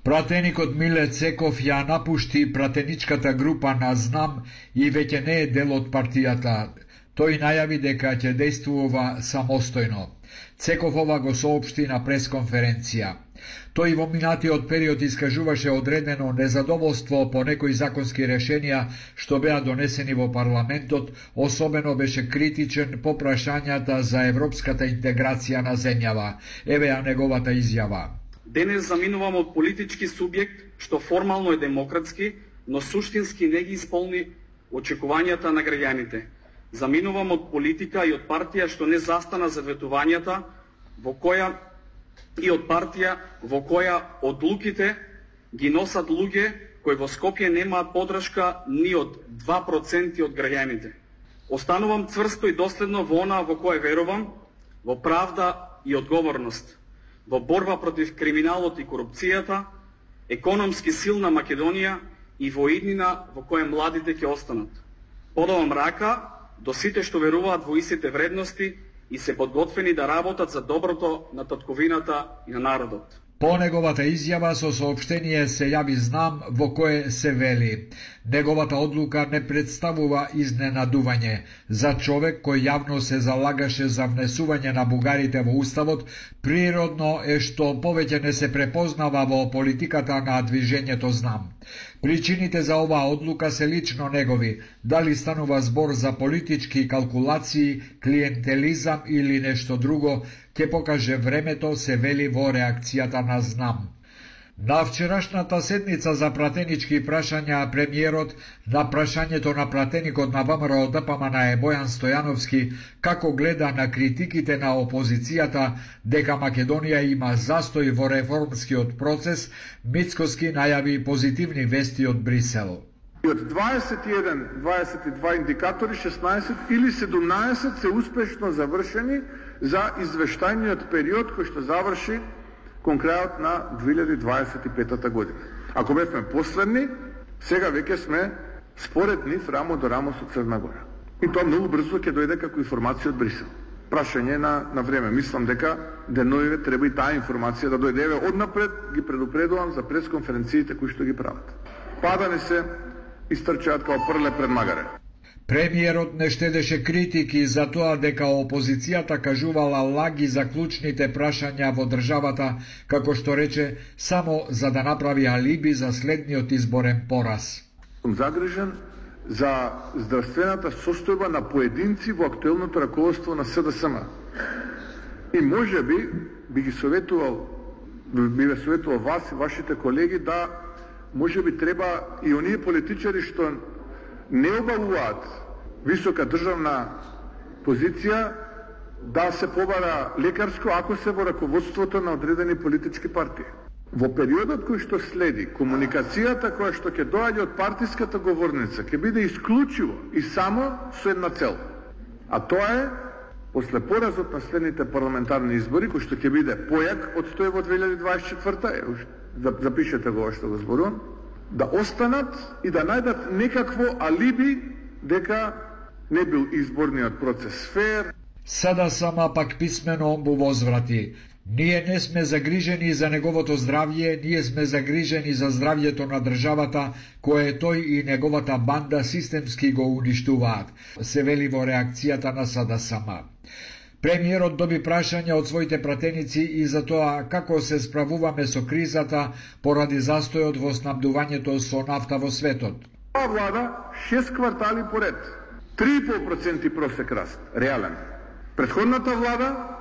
Пратеникот Миле Цеков ја напушти пратеничката група на Знам и веќе не е дел од партијата. Тој најави дека ќе действува самостојно. Цеков ова го соопшти на пресконференција. Тој во минатиот период искажуваше одредено незадоволство по некои законски решенија што беа донесени во парламентот, особено беше критичен по прашањата за европската интеграција на земјава. Еве ја неговата изјава. Денес заминуваме од политички субјект што формално е демократски, но суштински не ги исполни очекувањата на граѓаните. Заминувам од политика и од партија што не застана за ветувањата, во која одлуките ги носат луѓе кои во Скопје немаат подршка ни од 2% од граѓаните. Останувам цврсто и доследно во она во кое верувам, во правда и одговорност, во борба против криминалот и корупцијата, економски силна Македонија и во иднина во која младите ќе останат. Подавам рака до сите што веруваат во истите вредности и се подготвени да работат за доброто на татковината и на народот. По неговата изјава со соопштение се јави Знам во кое се вели: неговата одлука не представува изненадување. За човек кој јавно се залагаше за внесување на бугарите во уставот, природно е што повеќе не се препознава во политиката на движењето Знам. Причините за оваа одлука се лично негови. Дали станува збор за политички калкулации, клиентелизам или нешто друго, ќе покаже времето, се вели во реакцијата на Знам. На вчерашната седница за пратенички прашања премиерот на прашањето на пратеникот на ВМРО ДПМН Бојан Стојановски како гледа на критиките на опозицијата дека Македонија има застој во реформскиот процес, Мицкоски најави позитивни вести од Брисел. Од 21-22 индикатори, 16 или 17 се успешно завршени за извештајниот период кој што заврши кон крајот на 2025 година. Ако бевме последни, сега веќе сме според нив рамо до рамо со Црна Гора. И тоа многу брзо ќе дојде како информација од Брисел. Прашање на време. Мислам дека деновиве треба и таа информација да дојде. Однапред ги предупредувам за пресконференциите кои што ги прават. Падани се истрчаат као прле пред магаре. Премиерот не штедеше критики за тоа дека опозицијата кажувала лаги за клучните прашања во државата, како што рече, само за да направи алиби за следниот изборен пораз. Сум загрижен за здравствената состојба на поединци во актуелното раководство на СДСМ. И може би ве советувал вас и вашите колеги да може би треба и оние политичари што не обавуваат висока државна позиција да се побара лекарско ако се во раководството на одредени политички партии. Во периодот кој што следи, комуникацијата која што ќе доаѓа од партиската говорница ќе биде исклучиво и само со една цел. А тоа е, после поразот на следните парламентарни избори, кој што ќе биде појак од тој во 2024, запишете го што го зборувам, да останат и да најдат некакво алиби дека не бил изборниот процес фер. Сада сама пак писмено му возврати: ние не сме загрижени за неговото здравје, ние сме загрижени за здравјето на државата, кое тој и неговата банда системски го уништуваат, се вели во реакцијата на Сада сама. Премиерот доби прашање од своите пратеници и за тоа како се справуваме со кризата поради застојот во снабдувањето со нафта во светот. Ова влада 6 квартали поред, 3,5% просек раст, реален. Претходната влада